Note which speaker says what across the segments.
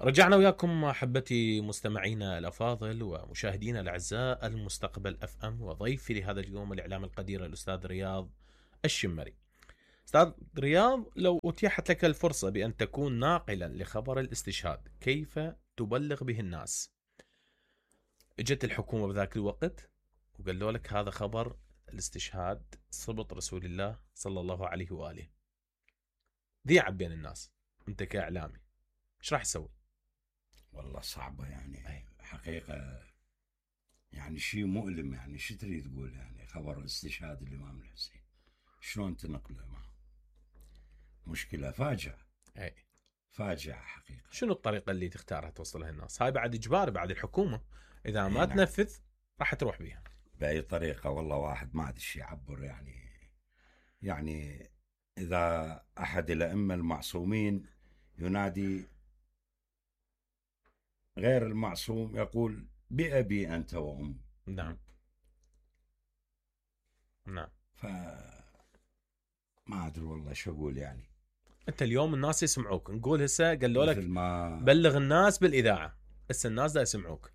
Speaker 1: رجعنا وياكم احبتي مستمعينا الافاضل ومشاهدينا الاعزاء المستقبل اف ام، وضيفي لهذا اليوم الاعلام القدير الاستاذ رياض الشمري. استاذ رياض، لو اتيحت لك الفرصه بان تكون ناقلا لخبر الاستشهاد، كيف تبلغ به الناس؟ اجت الحكومه بذاك الوقت وقالوا لك هذا خبر الاستشهاد صبط رسول الله صلى الله عليه واله، ذيع بين الناس، انت كاعلامي ايش راح تسوي؟
Speaker 2: والله صعبة يعني حقيقة، يعني شيء مؤلم. يعني شو تريد تقول؟ يعني خبر استشهاد الإمام الحسين شلون تنقله؟ معه مشكلة، فاجعة.
Speaker 1: اي
Speaker 2: فاجعة حقيقة.
Speaker 1: شنو الطريقة اللي تختارها توصلها الناس؟ هاي بعد إجباري، بعد الحكومة إذا ما
Speaker 2: نعم.
Speaker 1: تنفذ راح تروح بيها
Speaker 2: بأي طريقة. والله واحد ما أدري شو يعبر. يعني إذا أحد الأئمة المعصومين ينادي غير المعصوم يقول بأبي أنت وأمي.
Speaker 1: نعم نعم.
Speaker 2: ما أدري والله شو أقول. يعني
Speaker 1: أنت اليوم الناس يسمعوك، نقول هسه قالوا لك
Speaker 2: ما
Speaker 1: بلغ الناس بالإذاعة، هسه الناس دا يسمعوك،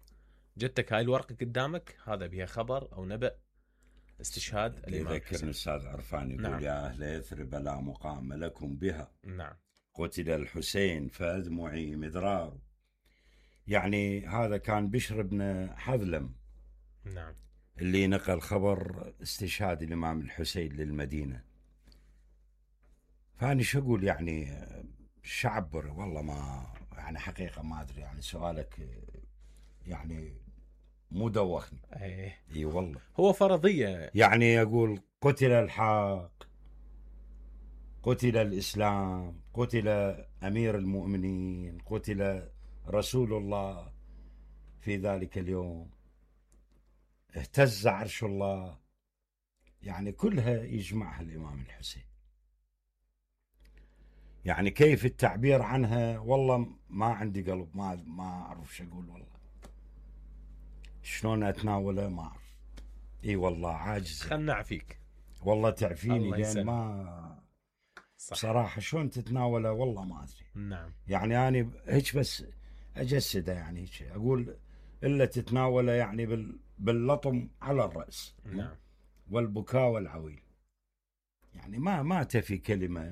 Speaker 1: جتك هاي الورقة قدامك هذا بها خبر أو نبأ استشهاد الإمام
Speaker 2: يذكرني
Speaker 1: الحسين.
Speaker 2: الأستاذ عرفان يقول
Speaker 1: نعم.
Speaker 2: يا أهل يثرب لا مقام لكم بها.
Speaker 1: نعم.
Speaker 2: قتل الحسين فأدمعي مدرار. يعني هذا كان بشر بن حذلم.
Speaker 1: نعم.
Speaker 2: اللي نقل خبر استشهاد الإمام الحسين للمدينة. فأنا شو أقول؟ يعني شعبر والله ما يعني حقيقة ما أدري. يعني سؤالك يعني مو دوخني. اي والله
Speaker 1: هو فرضية.
Speaker 2: يعني أقول قتل الحق، قتل الإسلام، قتل أمير المؤمنين، قتل رسول الله في ذلك اليوم، اهتز عرش الله. يعني كلها يجمعها الإمام الحسين. يعني كيف التعبير عنها؟ والله ما عندي قلب، ما أعرف شو أقول. والله شلون أتناوله ما أعرف. إي والله عاجز.
Speaker 1: خلنا نعفيك.
Speaker 2: والله تعفيني لأن ما
Speaker 1: صح.
Speaker 2: بصراحة شلون تتناوله والله ما أدري.
Speaker 1: نعم.
Speaker 2: يعني أنا هيك بس أجسده، يعني هيك أقول إلا تتناوله يعني باللطم على الرأس.
Speaker 1: نعم.
Speaker 2: والبكاء والعويل. يعني ما تفي كلمة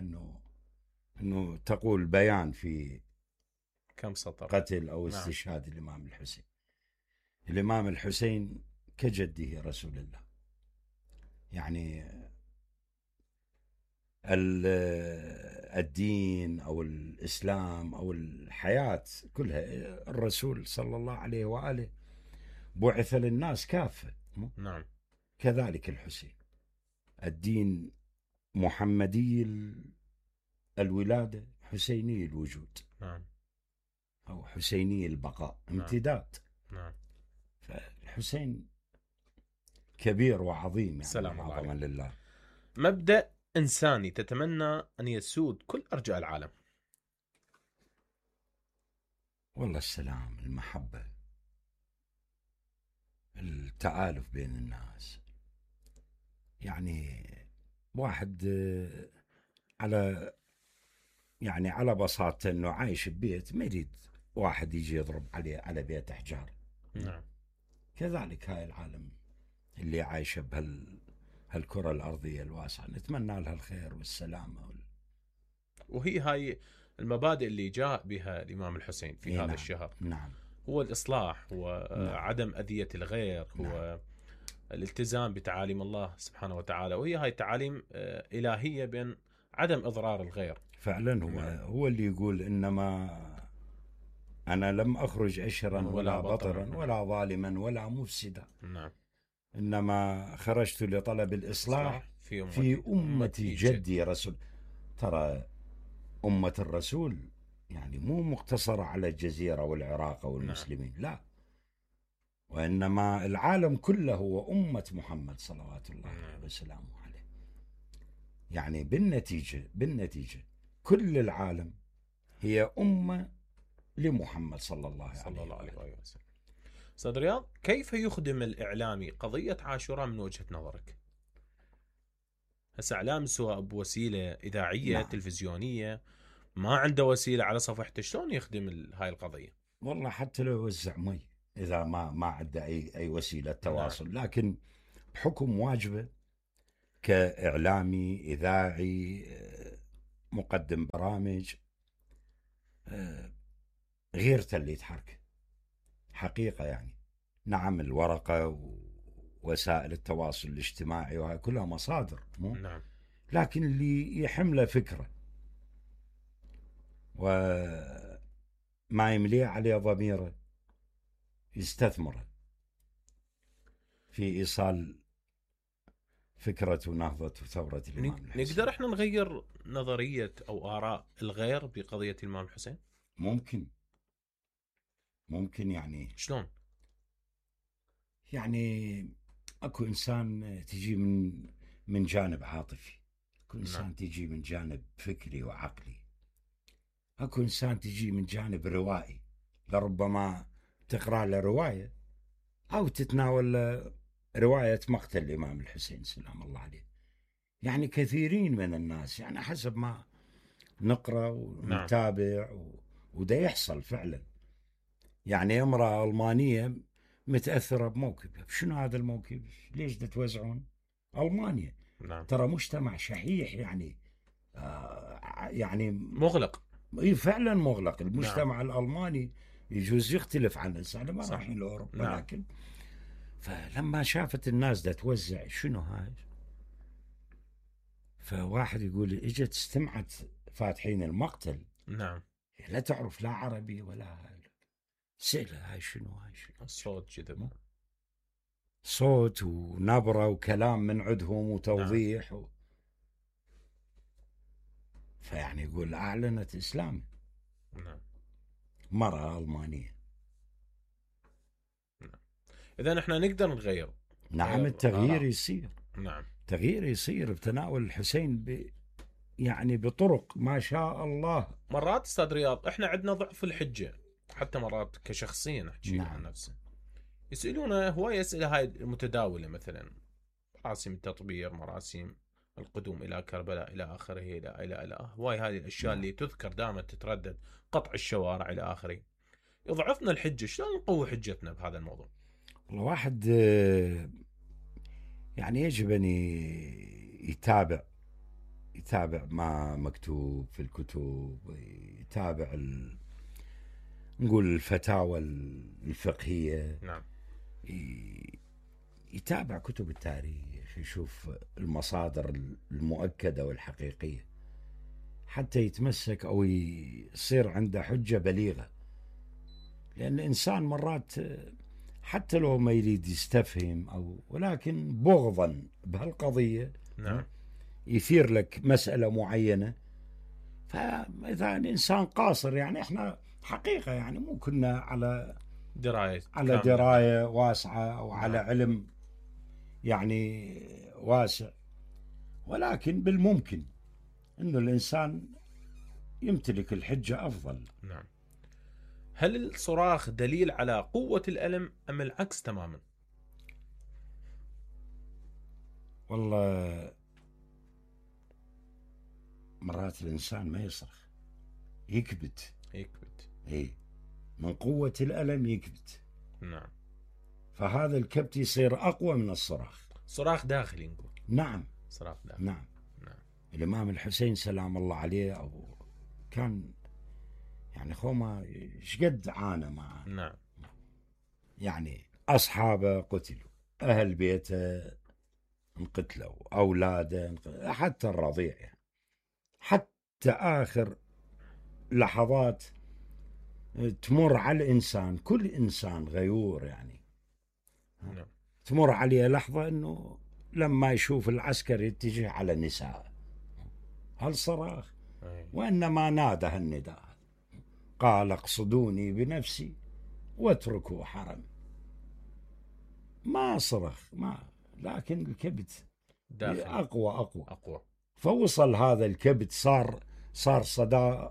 Speaker 2: إنه تقول بيان في
Speaker 1: كم سطر
Speaker 2: قتل أو
Speaker 1: نعم.
Speaker 2: استشهاد الإمام الحسين. الإمام الحسين كجده رسول الله. يعني الدين أو الإسلام أو الحياة كلها الرسول صلى الله عليه وآله بعث للناس كافة.
Speaker 1: نعم.
Speaker 2: كذلك الحسين الدين محمدي الولادة، حسيني الوجود.
Speaker 1: نعم.
Speaker 2: أو حسيني البقاء، امتداد.
Speaker 1: نعم.
Speaker 2: فالحسين كبير وعظيم. يعني
Speaker 1: سلام الله
Speaker 2: عظما لله.
Speaker 1: مبدأ إنساني تتمنى أن يسود كل أرجاء العالم؟
Speaker 2: والله السلام، المحبة، التآلف بين الناس. يعني واحد على بساطة انه عايش ببيت، ما يريد واحد يجي يضرب عليه على بيت احجار.
Speaker 1: نعم.
Speaker 2: كذلك هاي العالم اللي عايشة هالكرة الأرضية الواسعة، نتمنى لها الخير والسلامة
Speaker 1: وهي هاي المبادئ اللي جاء بها الإمام الحسين في هذا
Speaker 2: نعم.
Speaker 1: الشهر.
Speaker 2: نعم.
Speaker 1: هو الإصلاح، هو عدم أذية الغير، هو الالتزام بتعاليم الله سبحانه وتعالى، وهي هاي تعاليم إلهية بين عدم إضرار الغير.
Speaker 2: فعلا هو اللي يقول إنما أنا لم أخرج أشرا ولا بطرا ولا ظالما ولا مفسدا.
Speaker 1: نعم.
Speaker 2: إنما خرجت لطلب الإصلاح في أمتي جدي رسول. ترى أمة الرسول يعني مو مقتصرة على الجزيرة والعراق والمسلمين.
Speaker 1: نعم.
Speaker 2: لا، وإنما العالم كله هو أمة محمد صلوات الله وسلامه عليه. يعني بالنتيجة كل العالم هي أمة لمحمد صلى الله عليه وسلم.
Speaker 1: أستاذ رياض، كيف يخدم الإعلامي قضية عاشوراء من وجهة نظرك؟ هسه إعلام سواء بوسيلة إذاعية،
Speaker 2: نعم.
Speaker 1: تلفزيونية، ما عنده وسيله على صفحته، شلون يخدم هاي القضيه؟
Speaker 2: والله حتى لو يوزع مي، اذا ما عنده اي وسيله تواصل، لكن بحكم واجبه كاعلامي اذاعي مقدم برامج، غيرته اللي يتحرك حقيقه يعني. نعم الورقه ووسائل التواصل الاجتماعي وهي كلها مصادر
Speaker 1: نعم.
Speaker 2: لكن اللي يحمله فكره وما يمليه عليه ضميره يستثمره في ايصال فكرة ونهضة وثورة الإمام الحسين.
Speaker 1: نقدر احنا نغير نظرية أو آراء الغير بقضية الإمام الحسين؟
Speaker 2: ممكن يعني.
Speaker 1: شلون؟
Speaker 2: يعني اكو انسان تجي من جانب عاطفي، اكو انسان تجي من جانب فكري وعقلي، اكو انسان تجي من جانب روائي، لربما تقرأ له رواية او تتناول رواية مقتل الإمام الحسين سلام الله عليه. يعني كثيرين من الناس يعني حسب ما نقرأ ونتابع وده يحصل فعلا. يعني امرأة ألمانية متأثرة بموكب، شنو هذا الموكب؟ ليش تتوزعون؟ ألمانيا
Speaker 1: نعم.
Speaker 2: ترى مجتمع شحيح يعني يعني
Speaker 1: مغلق.
Speaker 2: اي فعلا مغلق. المجتمع الألماني يجوز يختلف عن الإنسان ما رايحين لأوروبا. لكن فلما شافت الناس دا توزع شنو هاي، فواحد يقول اجت استمعت فاتحين المقتل.
Speaker 1: نعم.
Speaker 2: لا تعرف لا عربي ولا سئلة هاي شنو
Speaker 1: الصوت كذا،
Speaker 2: صوت ونبرة وكلام من عندهم وتوضيح فيعني يقول أعلنت إسلام.
Speaker 1: نعم.
Speaker 2: مرأة ألمانية.
Speaker 1: نعم. إذا احنا نقدر نغير.
Speaker 2: نعم التغيير يصير.
Speaker 1: نعم.
Speaker 2: تغيير يصير بتناول الحسين يعني بطرق ما شاء الله.
Speaker 1: مرات استاذ رياض احنا عندنا ضعف الحجة، حتى مرات كشخصيا احكي عن نفسي، يسألونا هواي أسئلة هاي المتداولة، مثلا مراسم التطبير، مراسم القدوم إلى كربلاء إلى آخره، إلى هواي هذه الأشياء اللي تذكر دائما تتردد، قطع الشوارع إلى آخره. يضعفنا الحجة، شلون نقوي حجتنا بهذا الموضوع؟
Speaker 2: الواحد يعني يجب أن يتابع ما مكتوب في الكتب، يتابع نقول الفتاوى الفقهية.
Speaker 1: نعم.
Speaker 2: يتابع كتب التاريخ، يشوف المصادر المؤكدة والحقيقية حتى يتمسك أو يصير عنده حجة بليغة. لأن الإنسان مرات حتى لو ما يريد يستفهم ولكن بغضا بهالقضية
Speaker 1: نعم.
Speaker 2: يثير لك مسألة معينة. فإذا الإنسان قاصر يعني إحنا حقيقة يعني مو كنا على دراية واسعة أو على علم يعني واسع، ولكن بالممكن أنه الإنسان يمتلك الحجة أفضل.
Speaker 1: نعم. هل الصراخ دليل على قوة الألم أم العكس تماما؟
Speaker 2: والله مرات الإنسان ما يصرخ، يكبت. إيه، من قوة الألم يكبت.
Speaker 1: نعم.
Speaker 2: فهذا الكبت يصير أقوى من الصراخ.
Speaker 1: صراخ داخلي نقول.
Speaker 2: نعم.
Speaker 1: صراخ داخلي.
Speaker 2: نعم. الإمام الحسين سلام الله عليه كان يعني خوما شقد عانى معه.
Speaker 1: نعم.
Speaker 2: يعني أصحابه قتلوا، أهل بيته انقتلوا، أولاده حتى الرضيع يعني. حتى آخر لحظات تمر على الإنسان، كل إنسان غيور يعني.
Speaker 1: نعم.
Speaker 2: تمر عليه لحظة أنه لما يشوف العسكر يتجه على النساء، هل صراخ؟ وإنما نادى النداء، قال اقصدوني بنفسي واتركوا حرم. ما صرخ، لكن الكبت أقوى. فوصل هذا الكبت صار صدى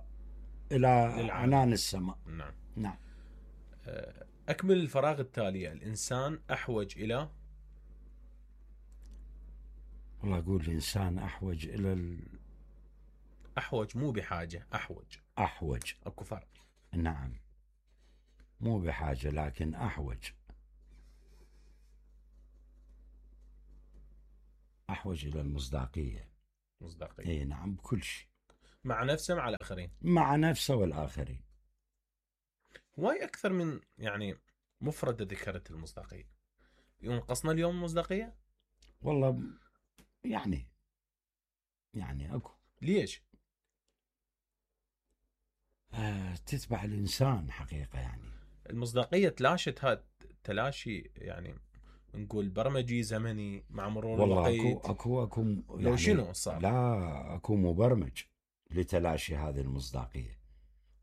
Speaker 2: إلى عنان السماء.
Speaker 1: نعم. أكمل الفراغ التالية. الإنسان أحوج إلى،
Speaker 2: والله أقول الإنسان أحوج إلى
Speaker 1: احوج مو بحاجه، احوج.
Speaker 2: احوج.
Speaker 1: اكو فرق.
Speaker 2: نعم، مو بحاجة لكن احوج. احوج الى المصداقية.
Speaker 1: مصداقيه.
Speaker 2: اي نعم، بكل شيء.
Speaker 1: مع نفسه مع الاخرين.
Speaker 2: مع نفسه والاخرين.
Speaker 1: واي اكثر من يعني مفردة ذكرت المصداقيه. ينقصنا اليوم المصداقيه؟
Speaker 2: والله يعني اكو.
Speaker 1: ليش؟
Speaker 2: تتبع الانسان حقيقة يعني.
Speaker 1: المصداقيه تلاشت، هذا تلاشي يعني نقول برمجي زمني مع مرور
Speaker 2: والله
Speaker 1: الوقت.
Speaker 2: اكو يعني
Speaker 1: لو شنو صار؟
Speaker 2: لا، اكو مبرمج لتلاشي هذه المصداقية،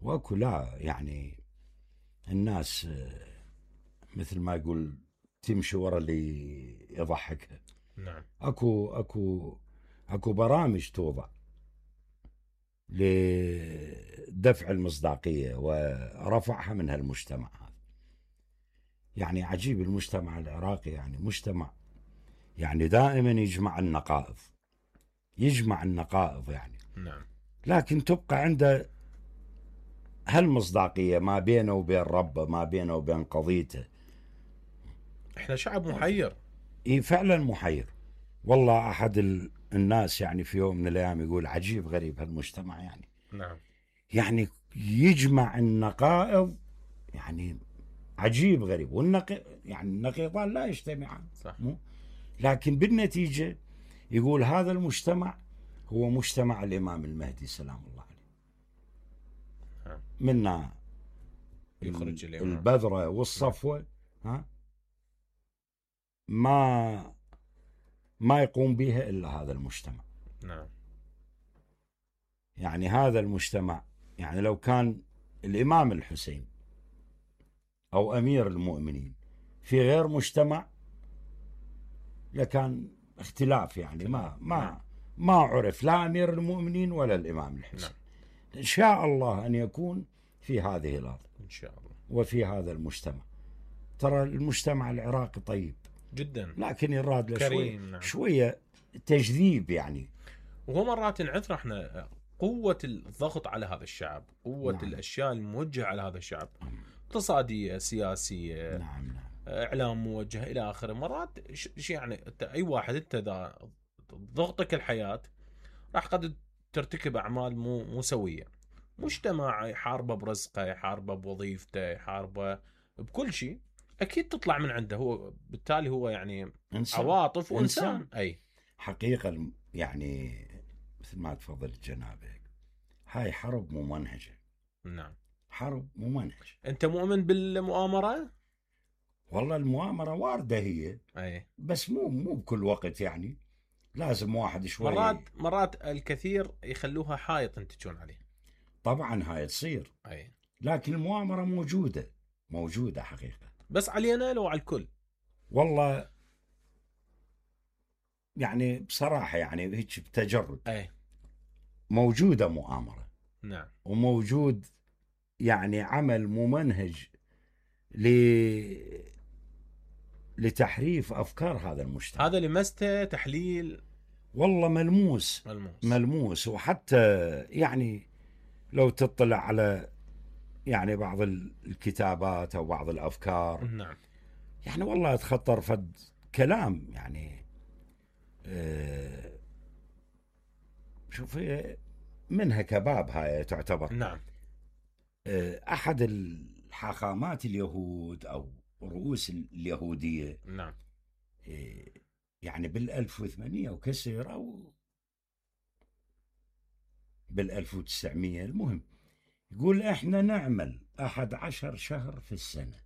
Speaker 2: واكو لا يعني الناس مثل ما يقول تمشي ورا اللي يضحكها.
Speaker 1: نعم.
Speaker 2: اكو برامج توضع لدفع المصداقية ورفعها من هالمجتمع هذا. يعني عجيب المجتمع العراقي، يعني مجتمع يعني دائما يجمع النقائض يعني.
Speaker 1: نعم.
Speaker 2: لكن تبقى عنده هالمصداقية ما بينه وبين ربه، ما بينه وبين قضيته.
Speaker 1: احنا شعب محير.
Speaker 2: اي فعلا محير. والله احد الناس يعني في يوم من الايام يقول عجيب غريب هالمجتمع يعني.
Speaker 1: نعم.
Speaker 2: يعني يجمع النقائض، يعني عجيب غريب. يعني النقيضان لا يجتمعان.
Speaker 1: صح.
Speaker 2: لكن بالنتيجة يقول هذا المجتمع هو مجتمع الإمام المهدي سلام الله عليه. منا
Speaker 1: يخرج الإمام.
Speaker 2: البذرة والصفوة. ما يقوم بها إلا هذا المجتمع.
Speaker 1: نعم.
Speaker 2: يعني هذا المجتمع، يعني لو كان الإمام الحسين أو أمير المؤمنين في غير مجتمع لكان اختلاف، يعني ما عرف لا أمير المؤمنين ولا الإمام الحسين.
Speaker 1: نعم.
Speaker 2: إن شاء الله أن يكون في هذه الأرض
Speaker 1: إن شاء الله
Speaker 2: وفي هذا المجتمع. ترى المجتمع العراقي طيب
Speaker 1: جدا،
Speaker 2: لكن يراد له
Speaker 1: كريم. نعم.
Speaker 2: شوية تجذيب يعني.
Speaker 1: وهو مرات نعثر احنا قوة الضغط على هذا الشعب، قوة
Speaker 2: نعم.
Speaker 1: الأشياء الموجهة على هذا الشعب، اقتصادية، سياسية،
Speaker 2: نعم.
Speaker 1: إعلام موجه إلى آخره. مرات يعني أي واحد أنت ضغطك الحياة راح قد ترتكب أعمال مو سوية. مجتمع يحاربه برزقه، يحاربه بوظيفته، يحاربه بكل شيء، أكيد تطلع من عنده. هو بالتالي هو يعني
Speaker 2: إنسان.
Speaker 1: عواطف وإنسان. أي
Speaker 2: حقيقة يعني مثل ما تفضل جنابك، هاي حرب ممنهجة.
Speaker 1: نعم.
Speaker 2: حرب ممنهجة.
Speaker 1: أنت مؤمن بالمؤامرة؟
Speaker 2: والله المؤامرة واردة هي.
Speaker 1: أي.
Speaker 2: بس مو بكل وقت يعني. لازم واحد شوي.
Speaker 1: مرات الكثير يخلوها حائط ينتجون عليه.
Speaker 2: طبعا هاي تصير.
Speaker 1: أي.
Speaker 2: لكن المؤامرة موجودة حقيقة.
Speaker 1: بس علينا لو على الكل؟
Speaker 2: والله يعني بصراحة يعني هيك بتجرد.
Speaker 1: أي.
Speaker 2: موجودة مؤامرة.
Speaker 1: نعم.
Speaker 2: وموجود يعني عمل ممنهج لتحريف أفكار هذا المجتمع.
Speaker 1: هذا لمسته تحليل
Speaker 2: والله ملموس. وحتى يعني لو تطلع على يعني بعض الكتابات أو بعض الأفكار.
Speaker 1: نعم.
Speaker 2: يعني والله تخطر فد كلام يعني شوف منها كباب هاي تعتبر.
Speaker 1: نعم.
Speaker 2: أحد الحاخامات اليهود أو رؤوس اليهودية.
Speaker 1: نعم.
Speaker 2: يعني بال1800 وكسر أو بال1900، المهم يقول إحنا نعمل 11 شهر في السنة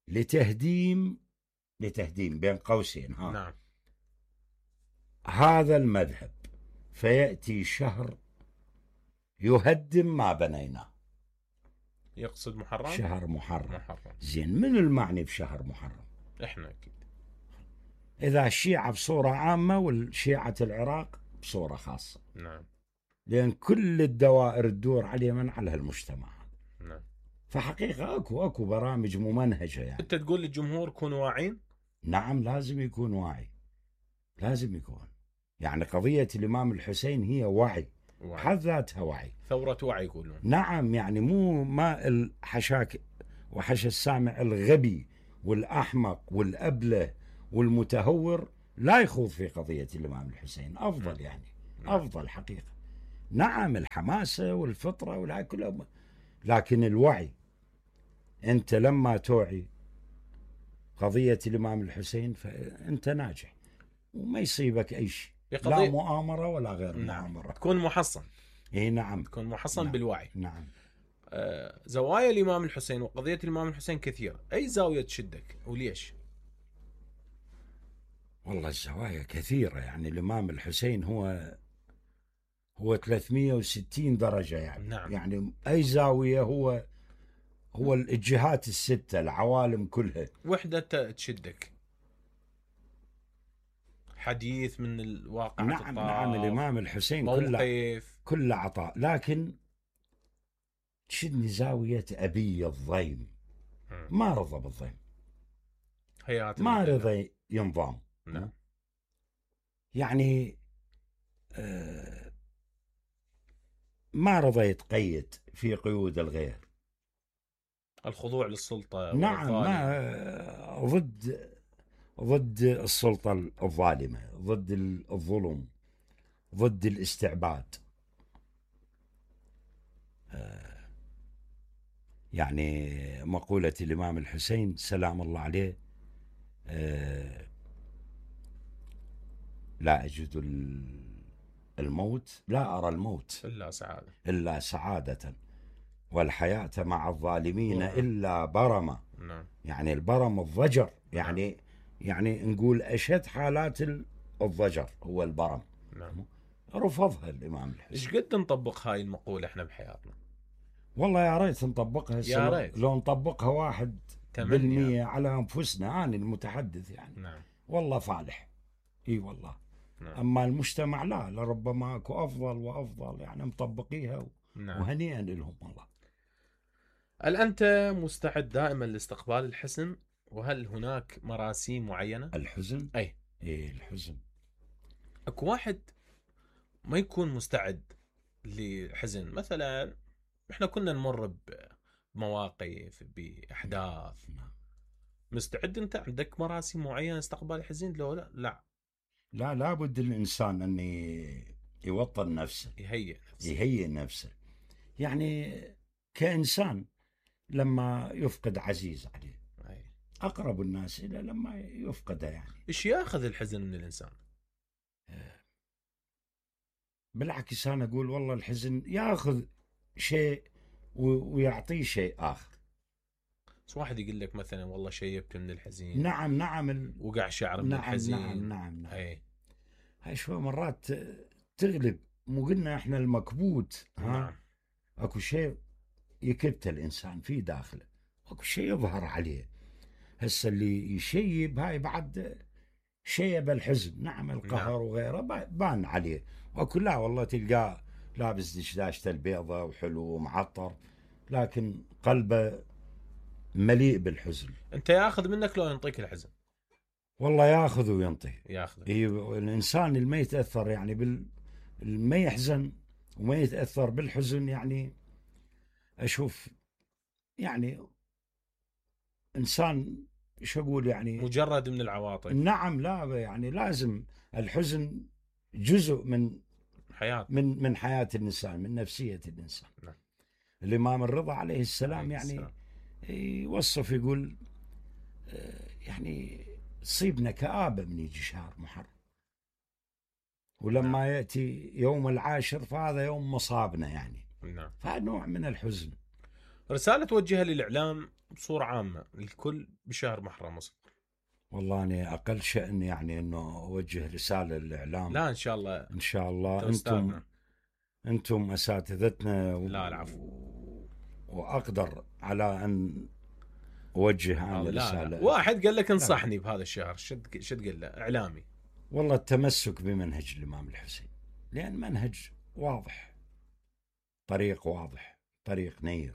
Speaker 2: لتهديم بين قوسين
Speaker 1: نعم.
Speaker 2: هذا المذهب، فيأتي شهر يهدم ما بنيناه.
Speaker 1: يقصد محرم.
Speaker 2: شهر محرم. زين، من المعني بشهر محرم؟
Speaker 1: احنا اكيد.
Speaker 2: اذا الشيعة بصورة عامة والشيعة العراق بصورة خاصة.
Speaker 1: نعم.
Speaker 2: لان كل الدوائر تدور على من على هالمجتمع.
Speaker 1: نعم.
Speaker 2: فحقيقة اكو برامج ممنهجة يعني.
Speaker 1: انت تقول للجمهور كونوا واعين؟
Speaker 2: نعم، لازم يكون واعي، لازم يكون. يعني قضية الإمام الحسين هي وعي،
Speaker 1: وعي.
Speaker 2: بحد ذاتها وعي،
Speaker 1: ثورة وعي يقولون.
Speaker 2: نعم، يعني مو ما الحشاك وحش السامع الغبي والأحمق والأبله والمتهور لا يخوض في قضية الإمام الحسين، أفضل يعني أفضل حقيقة. نعم الحماسة والفطرة والهاي كلها، لكن الوعي، أنت لما توعي قضية الإمام الحسين فأنت ناجح وما يصيبك أي شيء، لا مؤامرة ولا غير مؤامرة.
Speaker 1: تكون محصن.
Speaker 2: اي نعم،
Speaker 1: تكون محصن
Speaker 2: نعم.
Speaker 1: بالوعي.
Speaker 2: نعم.
Speaker 1: زوايا الإمام الحسين وقضية الإمام الحسين كثيرة، أي زاوية تشدك وليش؟
Speaker 2: والله الزوايا كثيرة، يعني الإمام الحسين هو 360 درجة يعني.
Speaker 1: نعم.
Speaker 2: يعني أي زاوية هو الجهات الستة، العوالم كلها.
Speaker 1: وحدة تشدك، حديث من الواقع.
Speaker 2: نعم نعم، الإمام الحسين كله عطاء، لكن تشدني زاوية أبي الضيم. ما رضى بالضيم، ما رضى ينضام.
Speaker 1: نعم.
Speaker 2: يعني ما رضى يتقيد في قيود الغير،
Speaker 1: الخضوع للسلطة.
Speaker 2: نعم، ما ضد السلطة الظالمة، ضد الظلم، ضد الاستعباد. يعني مقولة الإمام الحسين سلام الله عليه، لا أجد الموت، لا أرى الموت إلا سعادة، والحياة مع الظالمين إلا برمة.
Speaker 1: نعم.
Speaker 2: يعني البرم الضجر، يعني نقول أشد حالات الضجر هو البرم.
Speaker 1: نعم.
Speaker 2: رفضها الإمام الحسين.
Speaker 1: إيش قد نطبق هاي المقولة إحنا بحياتنا؟
Speaker 2: والله يا ريت نطبقها،
Speaker 1: يا ريت.
Speaker 2: لو نطبقها 1% على أنفسنا، أنا المتحدث يعني.
Speaker 1: نعم.
Speaker 2: والله فالح، إي والله.
Speaker 1: نعم.
Speaker 2: أما المجتمع لا، لربما أكو أفضل وأفضل يعني مطبقيها.
Speaker 1: نعم.
Speaker 2: وهنيئا لهم والله.
Speaker 1: هل أنت مستعد دائما لاستقبال الحزن؟ وهل هناك مراسيم معينة؟
Speaker 2: الحزن؟
Speaker 1: أي
Speaker 2: الحزن.
Speaker 1: أكو واحد ما يكون مستعد لحزن، مثلا إحنا كنا نمر بمواقف، بأحداث. مستعد أنت؟ عندك مراسيم معينة استقبال الحزن؟ لو لا
Speaker 2: لابد الإنسان أن يوطن نفسه، يهيئ نفسه. يعني كإنسان لما يفقد عزيز عليه، أقرب الناس إلى لما يفقده. يعني
Speaker 1: إيش يأخذ الحزن من الإنسان؟
Speaker 2: بالعكس أنا أقول والله الحزن يأخذ شيء ويعطيه شيء آخر.
Speaker 1: واحد يقول لك مثلا والله شيبت من الحزين.
Speaker 2: نعم
Speaker 1: وقع شعر من الحزين.
Speaker 2: نعم. هاي شوي مرات تغلب. مو قلنا احنا المكبوت؟
Speaker 1: نعم.
Speaker 2: اكو شيء يكبت الانسان في داخله، اكو شيء يظهر عليه. هسه اللي يشيب هاي بعد شيب الحزن. نعم القهر وغيره بان عليه. واكو لا والله تلقاه لابس دشداشته البيضة وحلو ومعطر، لكن قلبه مليء بالحزن.
Speaker 1: انت ياخذ منك لو ينطيك الحزن؟
Speaker 2: والله ياخذ وينطي.
Speaker 1: ياخذ.
Speaker 2: الانسان اللي ما يتاثر يعني ما يحزن وما يتاثر بالحزن، يعني اشوف يعني انسان شو اقول يعني
Speaker 1: مجرد من العواطف.
Speaker 2: نعم، لا يعني لازم الحزن جزء من
Speaker 1: حياة،
Speaker 2: من حياة الانسان، من نفسية الانسان.
Speaker 1: نعم.
Speaker 2: الامام الرضا عليه السلام يعني يوصف يقول يعني تصيبنا كآبة من يجي شهر محرم، ولما يأتي يوم العاشر فهذا يوم مصابنا يعني.
Speaker 1: نعم.
Speaker 2: فنوع من الحزن.
Speaker 1: رسالة توجهها للإعلام بصورة عامة للكل بشهر محرم مصر.
Speaker 2: والله أنا أقل شأن يعني أنه أوجه رسالة للإعلام.
Speaker 1: لا إن شاء الله.
Speaker 2: إن شاء الله أنتم أساتذتنا.
Speaker 1: لا العفو.
Speaker 2: وأقدر على أن أوجه عن رسالة.
Speaker 1: لا. واحد قال لك انصحني بهذا الشهر، شد قال له إعلامي؟
Speaker 2: والله التمسك بمنهج الإمام الحسين، لأن منهج واضح، طريق واضح، طريق نير،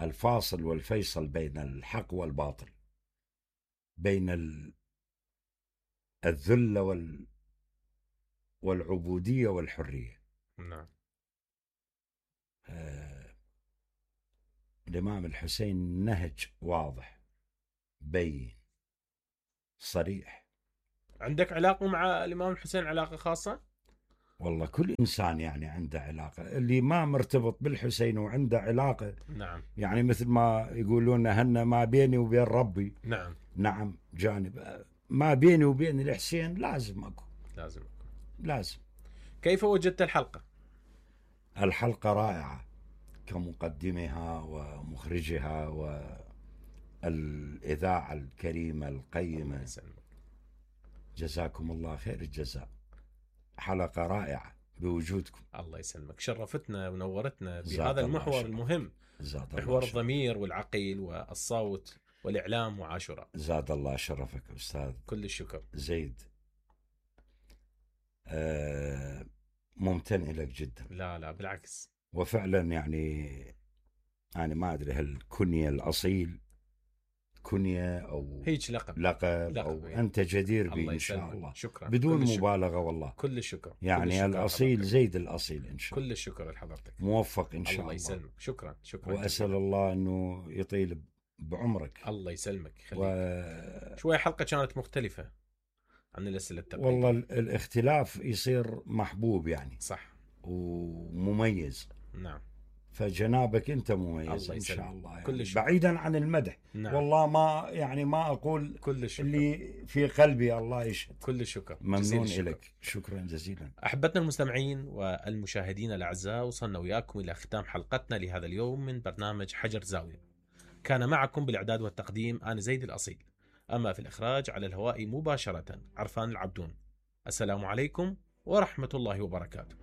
Speaker 2: الفاصل والفيصل بين الحق والباطل، بين الذل والعبودية والحرية.
Speaker 1: نعم.
Speaker 2: الإمام الحسين نهج واضح بين صريح.
Speaker 1: عندك علاقة مع الإمام الحسين علاقة خاصة؟
Speaker 2: والله كل إنسان يعني عنده علاقة، اللي ما مرتبط بالحسين وعنده علاقة
Speaker 1: نعم.
Speaker 2: يعني مثل ما يقولون هن ما بيني وبين ربي.
Speaker 1: نعم.
Speaker 2: نعم، جانب ما بيني وبين الحسين لازم أكو. لازم.
Speaker 1: كيف وجدت الحلقة؟
Speaker 2: الحلقة رائعة كمقدمها ومخرجها والإذاعة الكريمة القيمة. جزاكم الله خير الجزاء، حلقة رائعة بوجودكم.
Speaker 1: الله يسلمك، شرفتنا ونورتنا بهذا المحور المهم، محور الضمير والعقل والصوت والإعلام وعاشوراء.
Speaker 2: زاد الله شرفك أستاذ.
Speaker 1: كل الشكر.
Speaker 2: زيد. ممتن لك جدا.
Speaker 1: لا بالعكس.
Speaker 2: وفعلا يعني أنا ما أدري هل كنية الأصيل كنية أو
Speaker 1: هيك لقب
Speaker 2: أو يعني. أنت جدير به إن شاء الله.
Speaker 1: شكرا.
Speaker 2: بدون مبالغة والله.
Speaker 1: كل الشكر.
Speaker 2: يعني كل الأصيل زيد الأصيل إن شاء الله.
Speaker 1: كل الشكر لحضرتك.
Speaker 2: موفق إن شاء الله.
Speaker 1: الله يسلمك. شكرا.
Speaker 2: وأسأل الله أنه يطيل بعمرك.
Speaker 1: الله يسلمك. شوية حلقة كانت مختلفة عن الأسئلة التقليدية.
Speaker 2: والله الاختلاف يصير محبوب يعني.
Speaker 1: صح.
Speaker 2: ومميز.
Speaker 1: نعم.
Speaker 2: فجنابك أنت مميز إن شاء الله يعني.
Speaker 1: كل
Speaker 2: بعيدا عن المدح.
Speaker 1: نعم.
Speaker 2: والله ما أقول
Speaker 1: كل الشكر.
Speaker 2: اللي في قلبي الله يشهد.
Speaker 1: كل الشكر.
Speaker 2: ممنون لك. شكرا جزيلا.
Speaker 1: أحبتنا المستمعين والمشاهدين الأعزاء، وصلنا وياكم إلى ختام حلقتنا لهذا اليوم من برنامج حجر زاوية. كان معكم بالإعداد والتقديم أنا زيد الأصيل، أما في الإخراج على الهواء مباشرة عرفان العبدون. السلام عليكم ورحمة الله وبركاته.